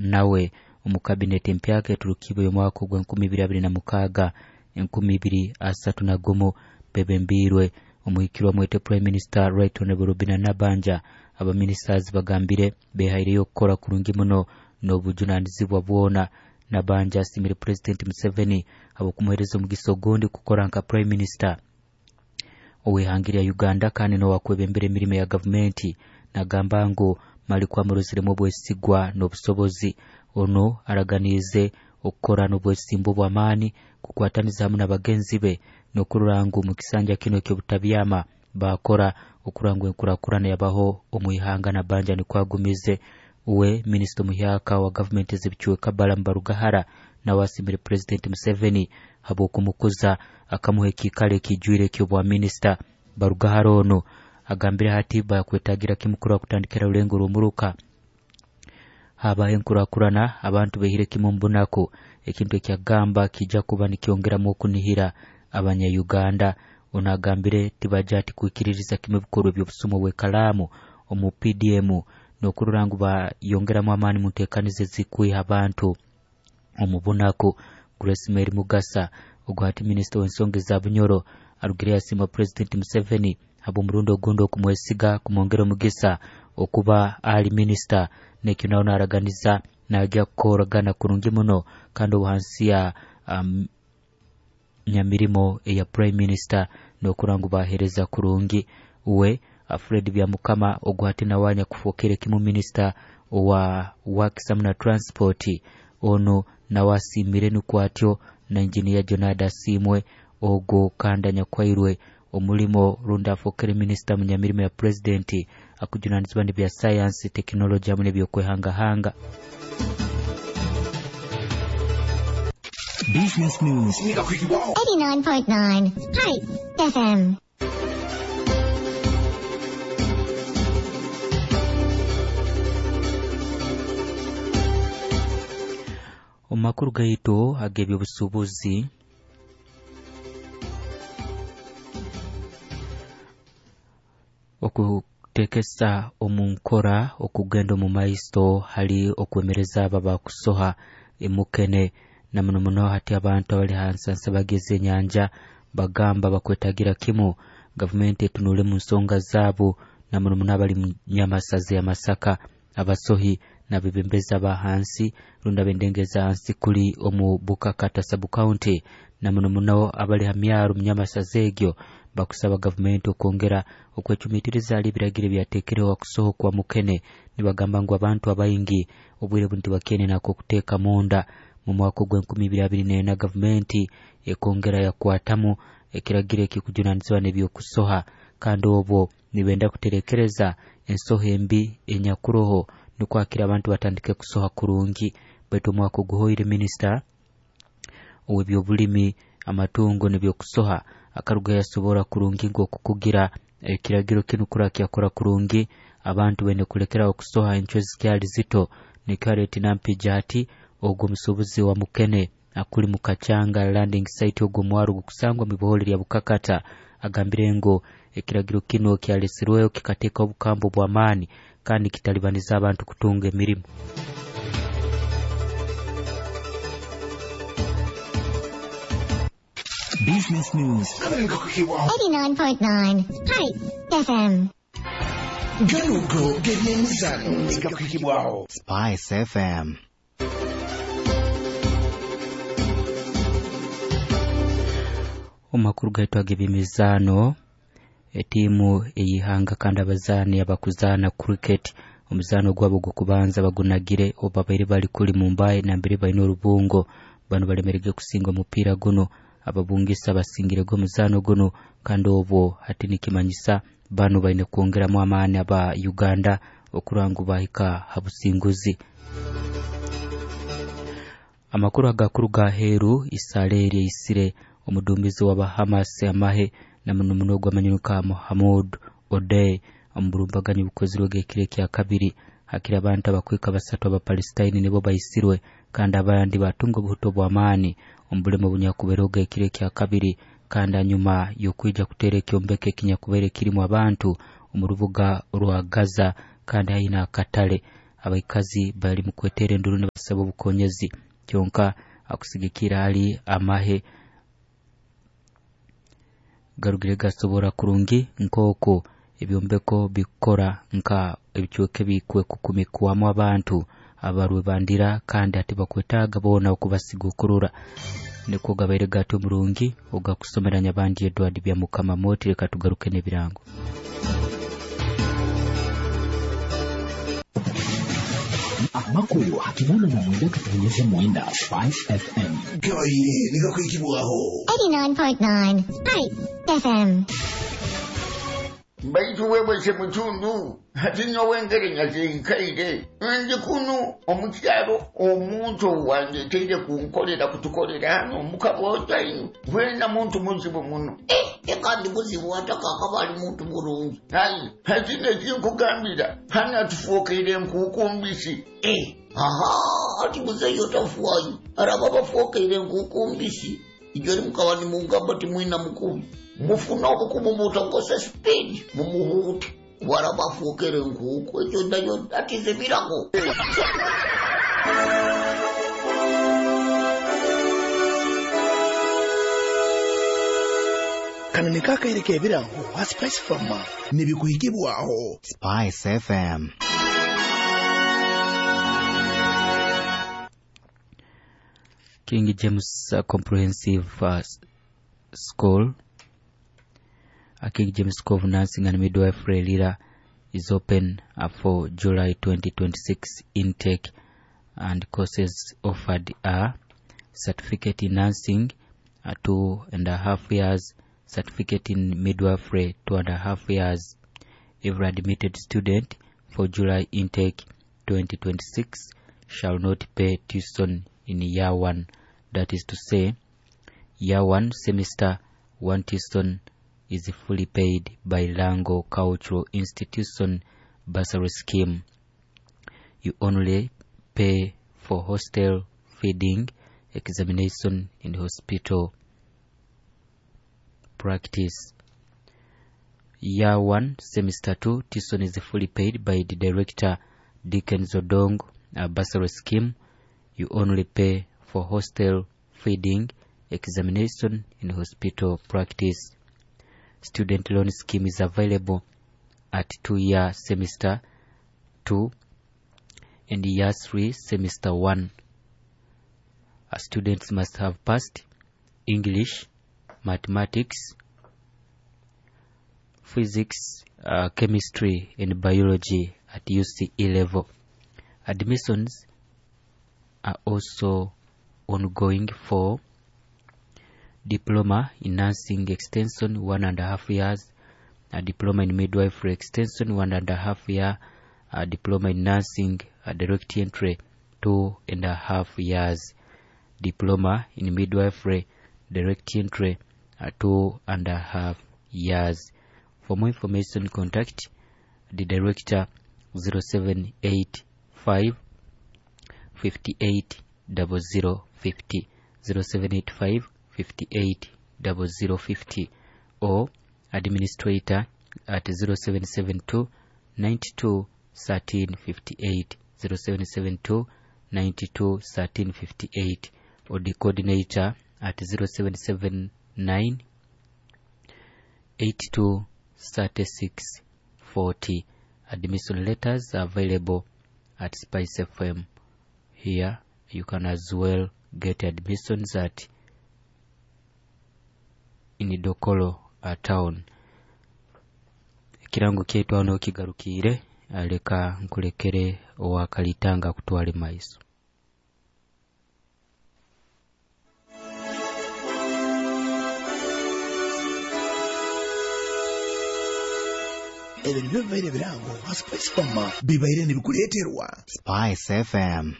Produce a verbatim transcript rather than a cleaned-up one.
Nawe omu kabineti empyaka eturukiibwe y'omwaka ogw'enkumi ibiri abiri na mukaaga enkumi ibiri asatu na gumu bebembiirwe omuhikirwa mwete Prime Minister Right Honorable Robinah Nabbanja. Abaministers bagambire behaireyo okukora kurungi muno n'obujunanizibwa bwona. Nabbanja asimire President Museveni habw'okumuheereza omugisa ogundi kukora nka Prime Minister ow'ihanga lya Uganda kandi n'owakwebembera emirimo ya gavumenti. Nagamba ngu mali kwamuroziremu obwesigwa n'obusobozi. Ono araganiize okukora n'obwesimbu bw'amaani kukwataniza hamu n'abagenzi be n'okurora ngu mu kisanja kino eky'obutabyama bakora okurora ngu enkurakurana yabaho omu ihanga. Nabbanja nikwo agumize. Uwe minisita omuhyaka wa gavumenti ez'ebicweka Balaam Barugahara nawe asimire President Museveni habw'okumukuza akamuha ekiikaro ekijwire eky'obwa minisita. Barugahara ono agambire hati bakwetagira kimu kurora kutandikira rulengo rw'omuruka habaho enkurakurana abantu behire kimu omu bunaku, ekintu ekyagamba kijja kuba nikyongeramu okunihira abanya-Uganda. Ono agambire tibajja ati kwikiririza kimu ebikorwa eby'obusumu obw'ekalaamu omu P D M n'okurora ngu bayongeramu amaani mu nteekaniza ezikwiha abantu omu bunaku. Grace Mary Mugasa ogwo hati minisita w'ensonga eza Bunyoro arugire yasiima President Museveni habw'omurundi ogundi okumwesiga kumwongera omugisa okuba ali minisita, nekyo nawe naraganiza najja kukoragana kurungi muno kandi obuhansi ya um, nyamirimo eya Prime Minister n'okurora ngu baheereza kurungi. Uwe Fred Byamukama ogwo hati nawe anyakufookere kimu minisita owa Works na Transport ono nawe asiimire nukwo atyo na Engineer Jonada Asiimwe ogwo kandi anyakwairwe omulimo rundi afookere minisita mu nyamirimo ya President akujunanizibwa n'ebya science, technology hamu n'ebyokwehangahanga. Business News eighty-nine point nine Spice F M. Omu makuru gaitu ag'ebyobusuubuzi, okuteekesa omu nkora okugenda omu maiso hali okwemereza abo abakusoha emukene na muno muno hati abantu abali hansi nsabageze enyanja bagamba bakwetagira kimu gavumenti etunule mu nsonga zaabo na muno muno abali mu nyamasaza ya Masaka, abasohi n'abebembezi aba hansi rundi ab'endengeza hansi kuli omu Bukakata sub county na muno muno abali ha myaro mu nyamasaza egyo bakusaba gavumenti okwongera okwecumitiriza ali ebiragiro ebyateekereho okusoho kwa mukene. Nibagamba ngu abantu abaingi obwire buno tibakene nako okuteeka munda. Mu mwaka ogw'enkumi ibiri abiri n'ena gavumenti ekongera yakwatamu ekiragiro ekikujunanizibwa n'ebyokusoha kandi obwo nibenda kuterekereza ensoho embi enyakuroho nukwo akira abantu batandike kusoha kurungi. Baitu omwaka oguhoire minisita ow'ebyobulimi amatungo n'ebyokusoha akaruga yasobora kurungi ng'okukugira ekiragiro kinu kura kyakora kurungi abantu bene kulekera okusoha encwe zikyali zito. Nikareti nampija ati ogwo musuubuzi wa mukene akuli mu Kachanga landing site ogwo mwaro gukusangwa mu bihoole lya Bukakata agambire ngo ekiragiro kino kyalesirweyo kikateeka obukambo bw'amaani kandi kitalibaniza abantu kutunga emirimu. Business News eighty-nine point nine Spice F M. Ganugo g'ebyemizano gakuhibwaho Spice F M. Omakuru gaitu ag'ebyemizaano, etiimu ey'ihanga kandi abazaani abakuzaana cricket omuzaano gwabo gw'okubanza bagunagire obu babaire bali kuli Mumbai nambere baine orubungo. Bano balemerege kusinga omupiira guno, ababungisa basingirego omuzaano guno kandi obwo hati nikimanyisa bano baine kwongeramu amaani aba Uganda okurora ngu bahika ha businguzi. Amakuru agakuruga aheeru, Israeli eyisire omudumbizi wa Hamas amahe na muno muno gw'amanyuka Mohamud Odeh omu burumbaganyi bukozirwe ekiro ekya kabiri. Hakiri abantu abakwika basatu Abapalestine nibo bayisirwe kandi abandi batunga obuhuto bw'amaani omu bulemu obunyakubereho ekiro ekya kabiri kandi hanyuma y'okwija kuteera ekyombeko ekinyakubaire kirimu abantu omu rubuga rwa Gaza kandi haihi n'akatale. Abaikazi bali mu kwetera enduru nibasaba obukonyezi kyonka akusigikira ali amahe garugire gasobora kurungi nkoko ebyombeko bikora nka ebichweke bikwe kukumikwamu abantu abarwe bandira kandi ati bakwetaga bona okubasigukurura niko gabaire gato murungi ogakusomeranya bandi Edward bya Mukama Moti. Reka tugaruke n'ebirango. Amakuru hakinana na mwenda katonyeze mwenda Spice F M. Gabaire nigakwikibwaho eighty-nine point nine Spice F M. Baitu wewe semutundu hati nyowe nyazinkaire ndi kuno omukyalo omuntu wange teire kunkolera kutukolera hano mukabota wena muntu muzibu muno eh kandi muzibu ataka akabali muntu mulungi ayi hati nekinkugambira hana tufuukire nkukumbisi eh aha ati muzeyo tafuayi araba bafuukire nkukumbisi ijori mukaba nimugamba timwina mukubi mufuna obukumu mutongose speed mumuhute warabafukere nkuku ekyo nayo atize birago. Kano nikakaireka ebirango ha Spice Farmer nibikuhikibwaho Spice F M. King James uh, Comprehensive uh, School, uh, King James School of Nursing and Midwifery Lira is open uh, for July twenty twenty-six intake, and courses offered are certificate in nursing, uh, two and a half years, certificate in midwifery, two and a half years. Every admitted student for July intake twenty twenty-six shall not pay tuition in year one, that is to say, year one semester one tuition is fully paid by Lango Cultural Institution bursary scheme. You only pay for hostel feeding, examination and hospital practice. Year one semester two tuition is fully paid by the director Dickens Odong uh, bursary scheme. You only pay for hostel feeding, examination and hospital practice. Student loan scheme is available at two-year semester two and year three semester one. Uh, students must have passed English, mathematics, physics, uh, chemistry and biology at U C E level. Admissions are also ongoing for diploma in nursing extension one and a half years, a diploma in midwifery extension one and a half year, a diploma in nursing a direct entry two and a half years, diploma in midwifery direct entry two and a half years. For more information, contact the director zero seven eight five fifty-eight double zero fifty, zero seven eight five fifty-eight double zero fifty, or administrator at zero seven seven two ninety-two thirteen fifty-eight, zero seven seven two ninety-two thirteen fifty-eight, or the coordinator at zero seven seven nine eighty-two thirty-six forty. Admission letters are available at Spice F M. Here you can as well get admissions at in Dokolo uh, town. Ekirango kyaitu hano kigarukire, leka nkulekere owakalitanga kutwale maiso. Ebyo nibyo bibaire birango ha Spice Farmer bibaire nibikuleeterwa Spice F M.